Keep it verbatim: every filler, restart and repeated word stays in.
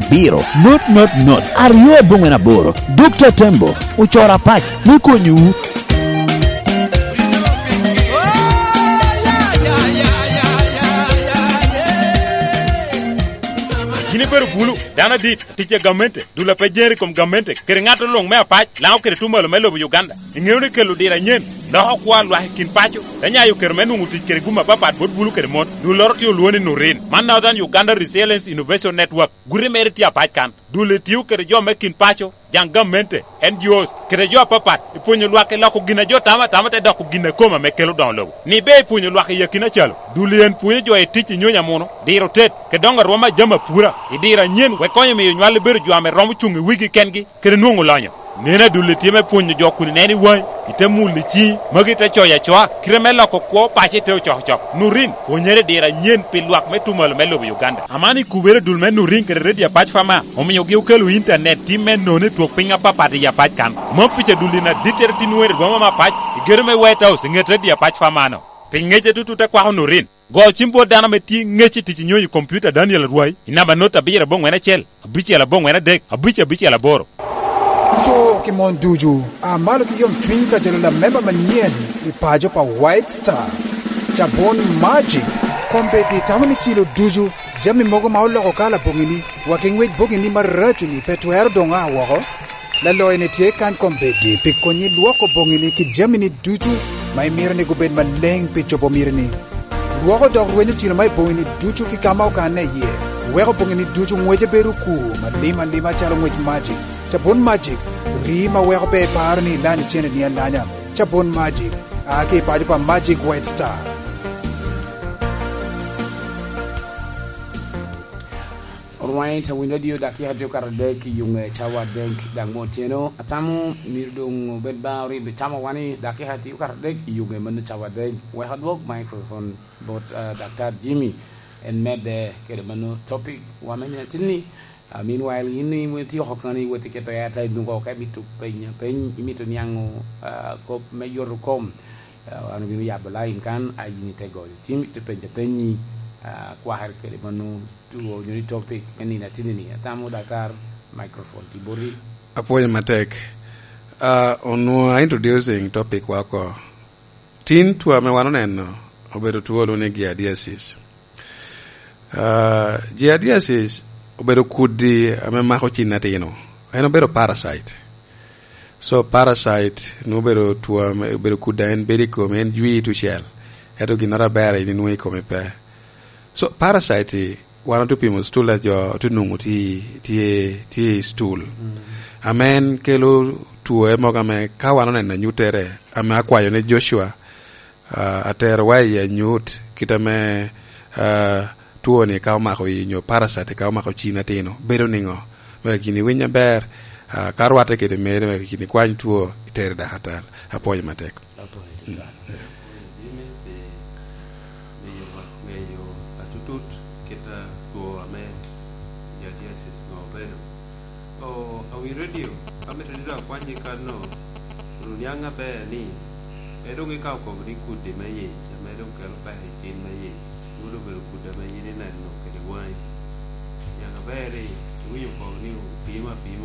Biro, not, not, not, aryo aboŋwen aboro. Dokta Tembo ocoro apac me konyowu. Gin ibedo bulu, dano adit, tic a gamente, dul a pe jeri i kom gamente, kede ŋat luŋ me apac, Lango kede Tumalo me lobo Uganda. Iŋeo ni kelo diro anyen loko kwo a lwak i kin paco, te nyayo kero me nwoŋo tic kede gum apapat bot bulu kede mon. Dulloro tye olwoŋo ni Nurin. Man Northern Uganda Resilience Innovation Network. Guti mere tye apac kan. Dul etio kede jo me kin paco, jaŋ gamente, N G Os, kede jo apapat, i pwonyo lwak i loko gin a jo tamo atama te doko gin a kome ame kelo doŋo lobo. Ni be i pwonyo lwak i akina calo, dul en pwonyo jo i tic i nyonyo amuno, diro tet, kede doŋo arwom a jami apura, i diro anyen, wek konyo miyo nywal ebedo jo ame romo cuŋ i wigi kengi, kede nwoŋo lonyo. Neno adulli tye me pwonyo jo kun ineno i waŋi, ite mulo i ciŋi, magi te coyo acoa, kite me loko kwo paco ite ocokocok. Nurin, pwonyere i diro anyen pi lwak me Tumalo me lobo Uganda. Aman ikubere dul me Nurin kede Redio Apac Fama, omiogi okelo intanet tim me nono i twok piny apapat i Apac kan. Mom pica dulli na dittere tin weri rwom ame apac, i gedo me White House i ŋet Redio Apac Fama-no. Pi ŋece tutut te kwako Nurin. Go cim bot dano ame tye ŋec i tic i nyonyo i kompiuta Daniel Arwai i namba not abiro aboŋwen acel, abicel aboŋwen adek, abic abicel aboro. Co ki mon ducu, a malo ki yomcwiny ka jalo lamemba manyen i paco pa White Star. Cabon Magic, kombeddi tamo ni cilo ducu, jami mogo ma oloko kala boŋini, wa ki ŋwec boŋini maraco-ni pe twero doŋ a woko. Laloyo-ni tye kany kombeddi pi konyi lwoko boŋini ki jamini ducu ma imito ni gubed maleŋ pi cobo mitini. Lwoko dok rwenyo cilo ma i boŋini ducu ki ka ma okanne iye. Weko boŋini ducu ŋwece bedo okur, malim alima calo ŋwec Magic. Cabun Magic, rii ma weko pe iparo ni ilanyo ceneni alanya. Cabun Magic, a ki i paco pa Magic White Star. Alright, awinyo radio dakika tye okato adek i yuŋe cawa adek, dok mo otyeno. Atamo myero doŋ obed ba oribbe cawa wani dakika tye okato adek i yuŋe mano cawa adek. Wek adwok microphone bot, ah, Daktar Jimmy, en medde kede mano topic wa me nino atinni. Ah, meanwhile, in ityeko kani iwot iketo airtime oko ka imito penyo peny, imito niaŋo, ah, kop me yoto kom. Ah, wan obino yabo line kan, a yin ite goyo cim, ite penyo penyi, ah, kwakere kede mano two onyo ni topic me nino atinni-ni. Atamo Daktar, microphone tye boti. Apwoyo matek. Ah, onwoŋo a introducing topic wa oko. Tin two ame wan oneno obedo two olwoŋo ni giardiasis. Ah, giardiasis obedo kudi ame mako cin atino. En obedo parasite. So parasite nwoŋo obedo two ame, obedo kudi a en bedo i komi, en jwi tucel. Ento ginnoro aber a in inwoŋo i komi pe. So, parasite-ti, wan otye pimo stool a jo otye nwoŋo tye, tye, tye i stool. Mm. Ame en kelo two mogo ame ka wan oneno anyuttere, ame akwayo ni Joshua, ah, aterowa i anyut, kit ame, ah, two-ni ka omako i nyo parasite ka omako cin atino, bedo niŋo? Mego gin iwiny aber, ah, ka rwatte kede mere, mego gin ikwany two, itere dakatal. Apwoyo matek. Apwoyo tutwal. James pi miyo wak ŋeyo atutut kit a two ame giardiasis nwoŋo obedo. O, awi radio, amito ni dok akwanyi kanno, kun oniaŋ aber ni, pe doŋ ikawo kobo ni kudi me yic, ame doŋ kelo peko i cin me yic, nwoŋo doŋ obedo kudi ame yin ineno kede waŋi. Niaŋ aber ni, iwinyo kobo ni opimo apima